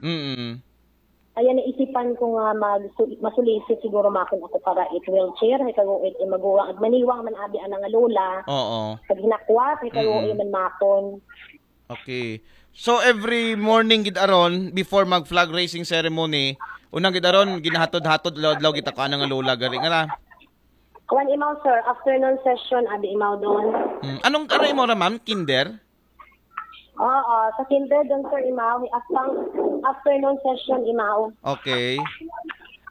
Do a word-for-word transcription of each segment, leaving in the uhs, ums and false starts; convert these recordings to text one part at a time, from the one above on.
Mm. Ayan, naisipan ko nga mag masulisit siguro makon ako para it wheelchair, hay kago it maguwang, ag maniwang man abi ana nga lola. Oo. Pag hinakwat, hay kago Mm. man makon. Okay. So every morning gid aron before mag flag raising ceremony, unang gid aron ginahatod-hatod adlaw-adlaw kita ko ana nga lola gari nga ra. Kuan imaw, sir, afternoon session abi imaw doon. Mm. Anong ano imo ra, ma'am? Kinder? Oo, sa kinder doon, sir, imaw, after afternoon session imaw. Okay.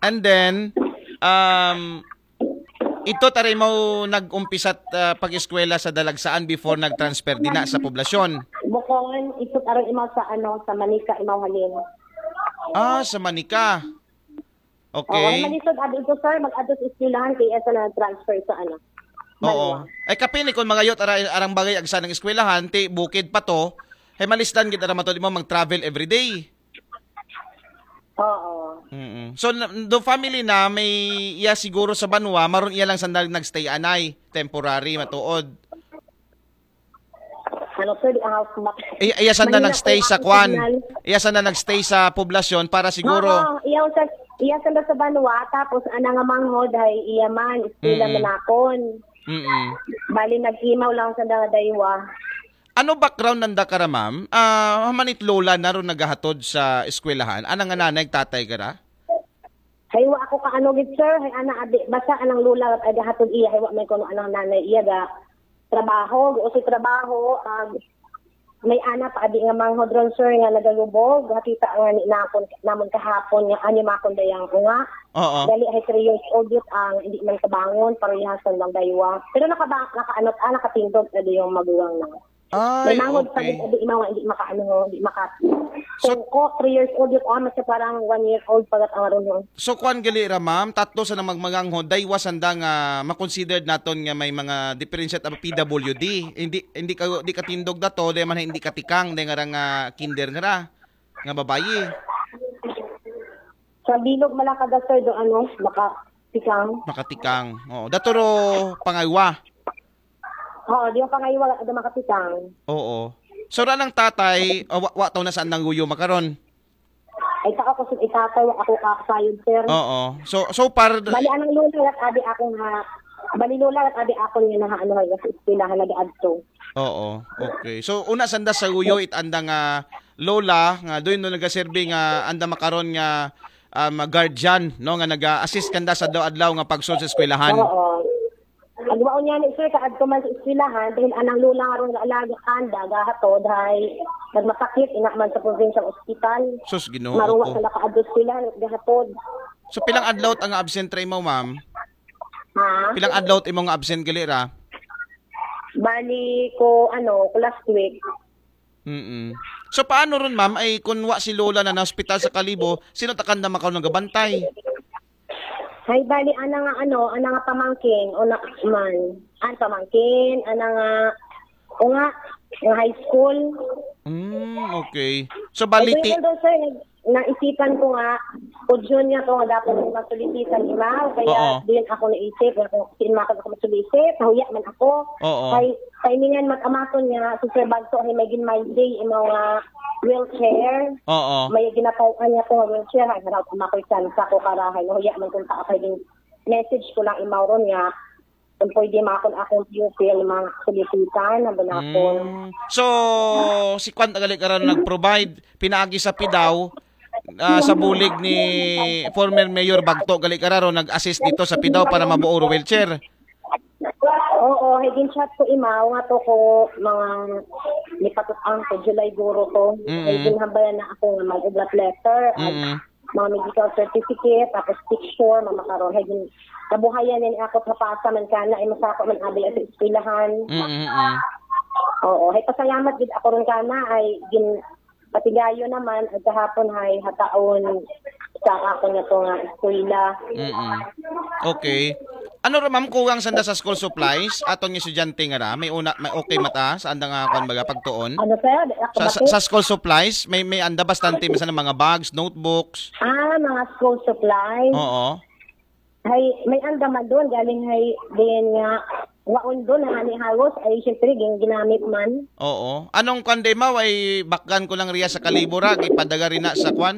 And then um ito tara mo nag-umpisa at ah, pag-eskwela sa Dalagsaan before nag-transfer dina sa poblasyon. Bukon, isot aron imaw sa ano, sa Manica imaw halin. Ah, sa Manica. Oo, Okay. malisod abi ito, sir, mag-adto sa eskwelahan kay asa na transfer sa ano. Oo. Ay kapin ni kung magayot ara, arang bagay agsa ng eskwelahan, ti bukid pa to. Hay malisdan gid ara matod mo mag-travel every day. Oo. Mm. So na- do family na may iya siguro sa banwa, maron iya lang sandal nagstay anay, temporary matuod. Ano, sir, di ang house mat. Iya, iya sanda Manila nagstay po sa ang kwan. signal. Iya sanda nagstay sa poblasyon para siguro. Oo, iyaw sa iyaw sa sa banwa, tapos ana nga manghod hay iya man, eskwela Mm. manakon. Mm. Bali nag-imaw lang sa nga daywa. Ano background nanda kara, ma'am? Ah, hamanit lola na ron nagahatod sa eskwelahan? Ana nga nanay tatay kara? Hay wa ako ka ano gid, sir, hay ana abi basta anang lola at aga hatod iya, hay wa may kuno anang nanay iya ga trabaho, gusto si trabaho, ag may ana pa abi nga manghod ron, sir, nga nagalubog, hatita nga ni nakon namon kahapon nga ani makon dayang nga. Oo. Dali hay three years old yun ang hindi man kabangon, parehas lang daywa. Pero nakaba nakaanot ah, nakatindog na yung maguwang na. Ay, May manghod pa okay. Din, hindi mawa, hindi makaano, hindi maka So- Tungko, three years old yun, ah, mas parang one year old pagat ang aron yun. So kuan gali ra, ma'am, tatlo sa nang magmaganghod, daywa sanda nga makonsidered naton nga may mga differentiate ang P W D. Hindi hindi ka di katindog dato, dahil man hindi katikang, dahil nga ra nga kinder nga ra, nga babayi. Sa bilog malakada, sir, do ano, makatikang. Makatikang. Oo, daturo pangaywa. Oo, di yung pangaywa, do makatikang. Oo. So ra ng tatay, oh, wa, wa taw na saan nang guyo makaron. Ay, ta ako sa itatay, wa ako kakasayod, sir. Oo. So so par Bali, anang lola, rat abi ako nga, bali lola, rat abi ako nga naha, ano, nga sa eskwelahan na adto. Oo. Okay. So una sanda sa guyo it anda nga lola nga doon no nagaserbi nga anda makaron nga um, guardian, no, nga naga-assist kanda sa adlaw-adlaw nga pagsulod sa eskwelahan. Oo. Agwaon niya ni sir, kaadto man sa eskwelahan, dahil anang lola nga ron nga alaga kanda, gahatod, hay, nagmasakit, ina man sa provincial hospital. Sus, Ginoo Maruwa ko. Sa nakaadto sila, gahatod. So pilang adlaw ang absent ra imo, ma'am? Ha? Pilang adlaw imo nga absent gali ra? Bali ko, ano, ko last week. Mm. So paano ron, ma'am, ay kung wa si lola na na-hospital sa Kalibo, sino takan na makaw nagabantay? Hay, bali, ana nga, ano, ana nga pamangkin, o na, man. An pamangkin, ana nga, o nga, nga high school. Mm, okay. So Bali, baliti. Ay, doon, sir, nag- naisipan ko nga, o June nga ko nga dapat ko masulisitan imaw, kaya Oo. Din ako naisip, nga kung sin makon ako masulisit, nahuya man ako. Oo. Kay, timingan mag-amakon nga, si Sir Bagso, hay may gin my day, imaw nga wheelchair. Oo. May ginataw-an niya ko nga wheelchair, hay harap amakon sa ko karahay, nahuya man kung taas, hay din message ko lang imaw ron nga, kung pwede makon akong pupil, mga sulisitan, na banakon. Mm. So si Kwan tagali karon nag-provide pinaagi sa pidaw ah, sa bulig ni former Mayor Bagto gali kararo nag-assist dito sa pidaw para mabuo ro wheelchair. Oo, hay gin-chat ko imaw nga to ko mga nipatutang ko July guro ko. Mm. Hay ginhambayan na ako nga mag-oblat letter, ag Mm. mga medical certificate, tapos picture, mga karon. Hay gin kabuhayan ni ako hapasa man kana, ay masako man abi sa eskwelahan. Mm, mm, mm. Oo, hay pasalamat gid ako ron kana, ay gin patigayo naman, at kahapon hay hataon sa ako nga to nga eskwela. Mm-mm. Okay. Ano ra ma'am kuwang sanda sa school supplies aton nga estudyante nga ra may una may okay mata sa anda nga kwan baga pagtuon? Ano, sir? Ako Sa, ba, sa, sir? Sa school supplies may may anda bastante sa mga bags, notebooks. Ah, mga school supplies. Oo. Hay, may anda man doon, galing hay din nga waon doon, hani halos ay siyempre gin ginamit man. Oo. Anong kwan day ma'am ay bakgan ko lang riya sa Kalibo ra kay padaga rin na sa kwan